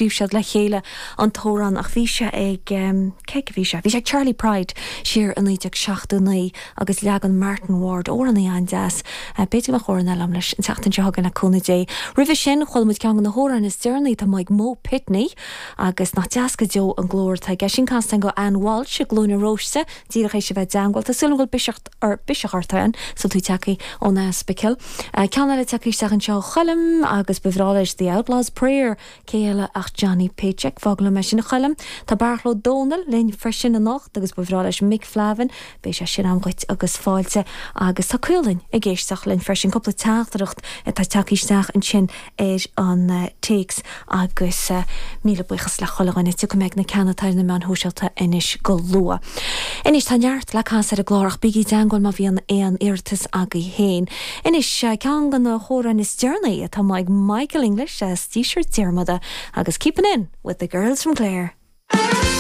scríobh siad le chéile an t-amhrán ach bhí sé ag, cé aige a bhí sé? Bhí sé ag Charley Pride siar i 1979 agus leagan Martin Ward, amhránaí an-deas. B'fhéidir go mbeadh amhrán eile agam leis an tseachtain seo chugainn le cúnamh Dé. Roimhe sin, chuala muid ceann de na hamhráin is deireanaí atá amuigh ag Mo Pitney agus nach deas go deo an glór atá aige. Sin casta agam go Ann Walsh i gCluain na Róiste, díreach théis a bheith i dteangmháil. Tá súil agam go bhfuil biseach biseach ort, a Ann, is tú tagtha ón Aspicil. Ceann eile tagtha isteach anseo ó Choilm agus ba bhreá leis The Outlaw's Prayer. Cé eile ach Johnny Paycheck? Fág liom é sin a Choilm. Tá Beairtle Ó Dónaill linn freisin anocht agus ba bhreá leis Mick Flavin. Beidh sé sin agam dhuit agus fáilte. Agus tá Caoilinn ag éisteacht linn freisin. Cúpla teachtaireacht atá tagtha isteach ansin ar an téacs agus míle buíochas le chuile dhuine. Tiocfaidh mé ag na ceanna atá ar na meáin shóisialta anois go luath. Anois tá neart le casadh ar an gclár ach bígí i dteangmháil má bhíonn aon iarratas agaibh féin. Anois, ceann de na hamhráin is deireanaí atá amuigh ag Michael English as Díseart Diarmada agus Keepin' In With The Girls From Clare.